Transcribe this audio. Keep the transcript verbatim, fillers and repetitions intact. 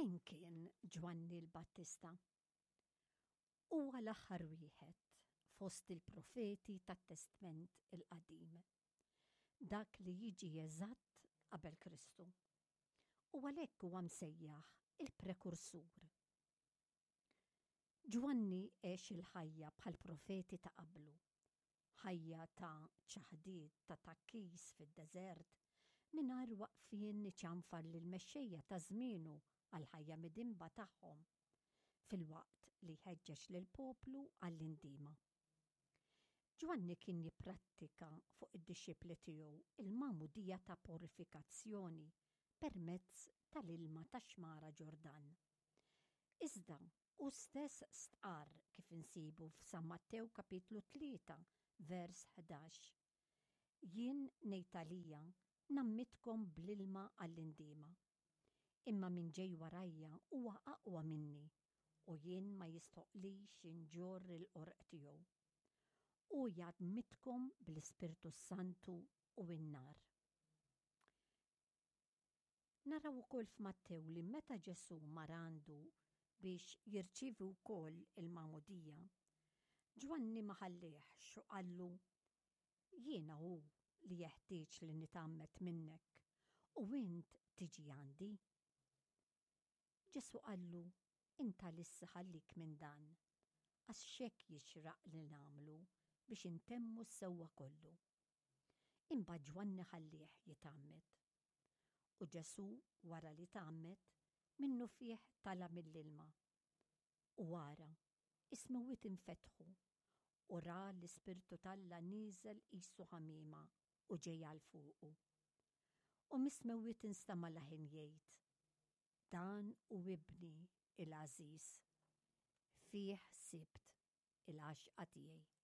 Min kien Ġwanni l-Battista? Huwa l-aħħar wieħed fost il-profeti tat-Testment il-Qadim. Dak li jiġi eżatt qabel Kristu. U għalhekk huwa msejjaħ il-prekursur. Ġwanni għex il-ħajja bħal profeti ta' qablu. Ħajja ta' ċaħdiet, ta' tgħakkis fid-deżert, mingħajr waqfien iċanfar lill-mexxejja ta' żmienu għall-ħajja midinba tagħhom, filwaqt li jħeġġeġ lill-poplu għall-indiema. Ġwanni kien jipprattika fuq id-dixxipli tiegħu il-magħmudija ta' purifikazzjoni permezz tal-ilma tax-xmara Ġordan. Iżda hu stess stqarr kif insibu f'San Mattew kapitlu tlieta vers ħdax. Jien ngħid għalija ngħammidkom bl-ilma għall-indiema. Imma min ġej warajja huwa aqwa minni u jien ma jistħoqlix inġorr il-qorq tiegħu. Hu jgħammidkom bl-Ispirtu Santu u n-nar. Naraw ukoll f'Mattew li meta Ġesù mar għandu biex jirċievi wkoll il-magħmudija, Ġwanni ma ħallihx u qallu, Jiena hu li jeħtieġ li nitgħammed minnek u int tiġi għandi. Ġesù qallu, Int għalissa ħallik minn dan, għax hekk jixraq li nagħmlu biex intemmu s-sewwa kollu. Imbagħad Ġwanni ħallih jitgħammed. U Ġesù wara li tgħammed, minnufih tala' mill-ilma. U ara, is-smewwiet infetħu, u ra l-Ispirtu t'Alla nieżel qisu ħamiema u ġej għal fuqu. U mis-smewwiet instama' leħen jgħid, Dan hu ibni il-għażiż, fih sibt il-għaxqa tiegħi.